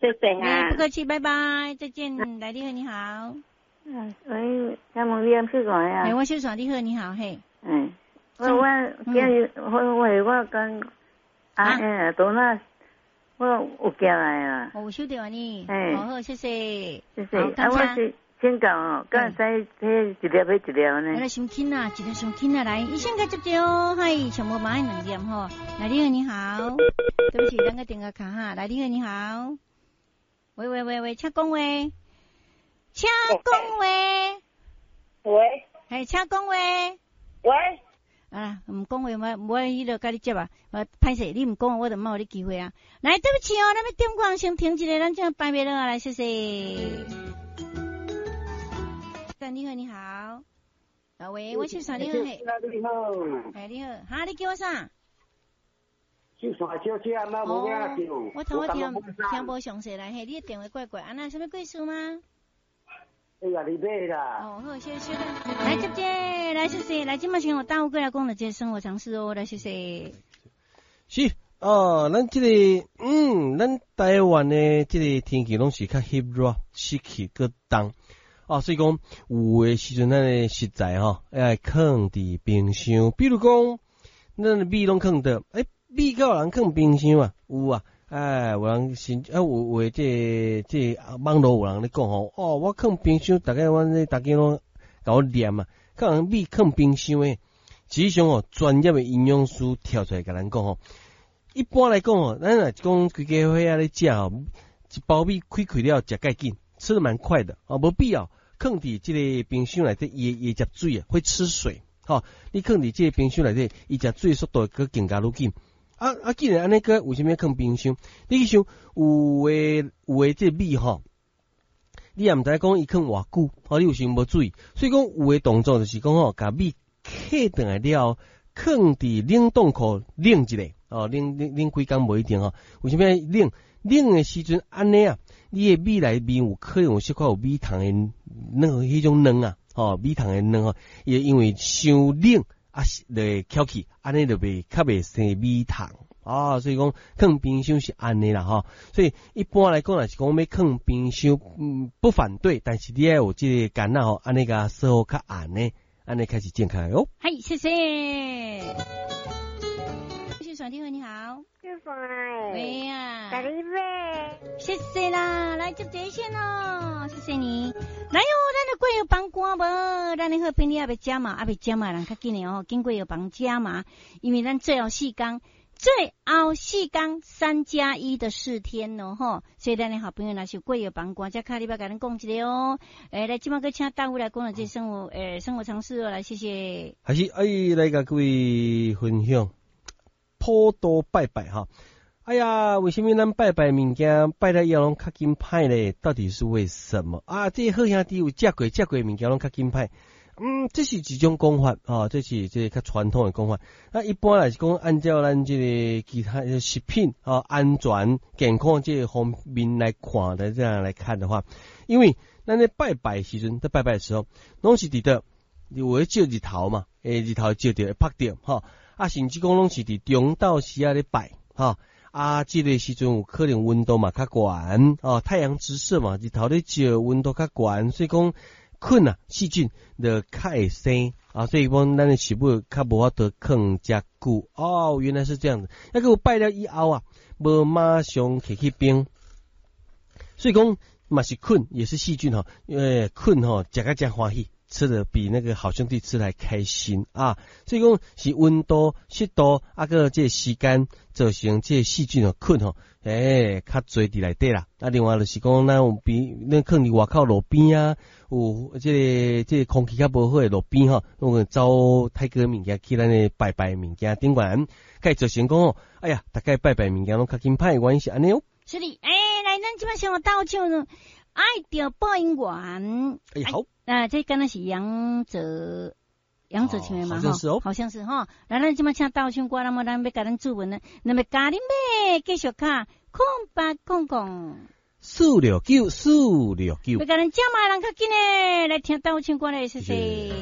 謝謝哈。不客氣，拜拜，再見。來，你好，你好。喂，請問你按小線啊？欸，我小線，你好，你好，嘿。嗯，我今日我跟啊，欸，多那我有寄來啊。哦，有收到呢。欸，好，好，謝謝。謝謝。啊，我是請教哦，敢會使彼一粒買一粒呢？來，傷緊啊，一粒傷緊啊，來，醫生該接接哦，嗨，上無嘛愛兩點吼。來，你好，你好。對不起，咱個電話卡哈。來，你好，你好。喂喂喂喂，請講話。請講話。喂。嘿，請講話。喂。啊，毋講話，我無愛彼落共你接啊。我歹勢，你毋講，我就無予你機會啊。來，對不起哦，咱欲點歌先停一下，咱這擺袂落來，謝謝。你好，你好。啊喂，我姓啥？你好，嘿。你好。哎，你好，哈，你叫我啥？小線小姐，阿媽無影叫。我頭我聽聽無詳細來，嘿，你的電話怪怪，啊那啥物貴數嗎？哎呀，你買啦。哦，好，謝謝。來，接這，來謝謝，來，這馬先我大有過來講的這個生活常識哦，來謝謝。是哦，咱這個，咱台灣的這個天氣攏是較翕熱、濕氣閣重，啊，所以講有的時陣咱的食材吼，愛囥佇冰箱，比如講，咱的米攏囥佗，欸，米敢有人囥冰箱啊？有啊，哎，有人是啊，有的這個網路有人咧講吼，哦，我囥冰箱，逐家阮這逐家攏共我念啊，敢有人米囥冰箱的，實際上哦，專業的營養師跳出來共咱講吼，一般來講哦，咱若是講規家伙仔咧食吼，一包米開開了食蓋緊，吃得蠻快的，哦，無必要囥佇這個冰箱內底，伊會食水啊，會吃水，吼，你囥佇這個冰箱內底，伊食水速度會閣更加愈緊。啊啊！既然按呢閣為啥物囥冰箱？你去想有的這個米吼，你也毋知講伊囥偌久，吼，你有時無注意，所以講有的動作就是講吼，共米客轉來了後，囥佇冷凍庫冷一下，哦，冷冷冷幾工無一定吼。為啥物冷？冷的時陣按呢啊，你的米內面有可能有小可有米蟲的那個彼種卵啊，吼，米蟲的卵吼，伊會因為傷冷啊，就會翹起，按呢就袂較袂生米蟲啊。所以講囥冰箱是按呢啦吼。所以一般來講，若是講欲囥冰箱，不反對，但是你愛有這個矸仔吼，按呢共鎖好較按呢，按呢開始正確哦。嗨，謝謝。小帥你好，你好。小帥。喂呀。大你買。謝謝啦，來接這線哦，謝謝你。來喲，咱的過藥房歌無？咱的好朋友猶未食嘛，猶未食嘛，人較緊的哦，緊過藥房食嘛，因為咱最後四工，最後四工3加1的4天哦，吼，所以咱的好朋友若是有過藥房歌，才卡你欲共咱講一下哦。欸，來，這馬閣請大夫來講了這生活，欸，生活常識哦，來，謝謝。還是哎，來共各位分享普渡拜拜哈。哎呀，為啥物咱拜拜物件拜了以後攏較緊歹咧？到底是為什麼啊？這個好兄弟有食過，食過物件攏較緊歹。這是一種講法，吼，這是這個較傳統的講法。那一般來是講，按照咱這個其他食品啊安全健康這個方面來看的，這樣來看的話，因為咱咧拜拜時陣，在拜拜的時候，攏是佇佗有咧照日頭嘛，欸，日頭照著會曝著，吼，啊，甚至講攏是佇中晝時仔咧拜，吼。啊，這個時陣有可能溫度嘛較懸，哦，太陽直射嘛，日頭咧照，溫度較懸，所以講菌啊細菌就較會生啊，所以講咱的食物較無法度囥遮久。哦，原來是這樣子。抑閣有拜了以後啊，無馬上提去冰，所以講嘛是菌，也是細菌吼，因為菌吼食甲真歡喜，吃的比那個好兄弟吃的還開心啊！所以講是溫度、濕度啊，閣這個時間造成這個細菌哦菌吼，欸，較濟佇內底啦。啊，另外就是講，咱有邊，咱囥佇外口路邊啊，有這個空氣較無好的路邊吼，攏會走太過物件去咱的拜拜物件頂懸，會造成講哦，哎呀，逐家拜拜物件攏較緊歹，原因是按呢哦。是的，欸，來，咱這擺先有到唱愛著播音員。欸，好。啊，這敢若是楊哲，楊哲唱的嘛？好像是哦，好像是吼。來，咱這擺請鬥唱歌，那麼咱欲共咱主文呢？那麼教恁欲繼續敲0800 469 469。欲共咱食嘛，人較緊的來聽鬥唱歌咧，謝謝。